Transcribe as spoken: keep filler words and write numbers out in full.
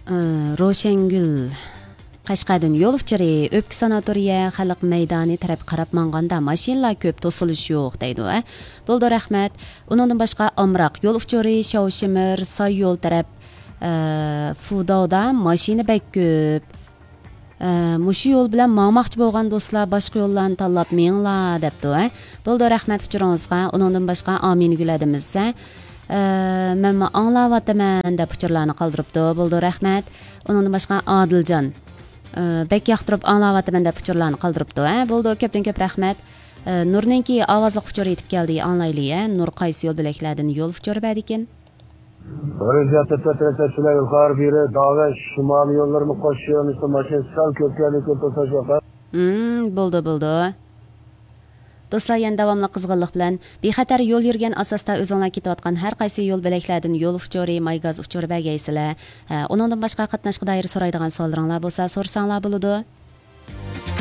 ئى، روشەنگۈل، قەشقەردىن يول ئۇچۇرى، ئۆپكە ساناتورىيە، خەلق مەيدانى تەرەپكە قاراپ ماڭغاندا ماشىنىلار كۆپ، توسۇلۇش يوق دەيدۇ، ھە. بولىدۇ، رەھمەت. ئۇنىڭدىن باشقا ئامراق يول ئۇچۇرى، شاۋشىمىر، ساي يول تەرەپ، ئى، فۇداۋدا ماشىنا بەك كۆپ. ئە، مۇشۇ يول بىلەن ماڭماقچى بولغان دوستلار باشقا يوللارنى تاللاپ مېڭىڭلار دەپتۇ، ھە. بولىدۇ، رەھمەت ئۇچۇرىڭىزغا. ئۇنىڭدىن باشقا ئامىنەگۈل ھەدىمىز، ھە، ئە، مەنمۇ ئاڭلاۋاتىمەن دەپ ئۇچۇرلارنى قالدۇرۇپتۇ. بولىدۇ، رەھمەت. ئۇنىڭدىن باشقا ئادىلجان، ئە، بەك ياقتۇرۇپ ئاڭلاۋاتىمەن دەپ ئۇچۇرلارنى قالدۇرۇپتۇ، ھە. بولىدۇ، كۆپتىن كۆپ رەھمەت. ئە، نۇرنىڭكى ئاۋازلىق ئۇچۇرى يېتىپ كەلدى، ئاڭلايلى، ھە. نۇر قايسى يول بۆلەكلەردىن يول ئۇچۇرى بەردىكىن؟ بىرىنچى ھەپتە تۆت رەكەت سۈلەي يۇقىرى بېرى داۋە شىمالىي يوللىرىنى قوشۇش يۆنىلىشىدە ماشىنا سەل كۆپ كەلدى، كۆپ توساش ۋەقە. مم، بولدى، بولدى. دوستلار، يەنە داۋاملىق قىزغىنلىق بىلەن بىخەتەر يول يۈرگەن ئاساستا ئۆزۈڭلار كېتىۋاتقان ھەر قايسى يول بۆلەكلەردىن يول ئۇچۇرى، ماي گاز ئۇچۇرى بەرگەيسىلەر. ھە، ئۇنىڭدىن باشقا قاتناشقا دائىر سورايدىغان سوئاللىرىڭلار بولسا سورىساڭلار بولىدۇ.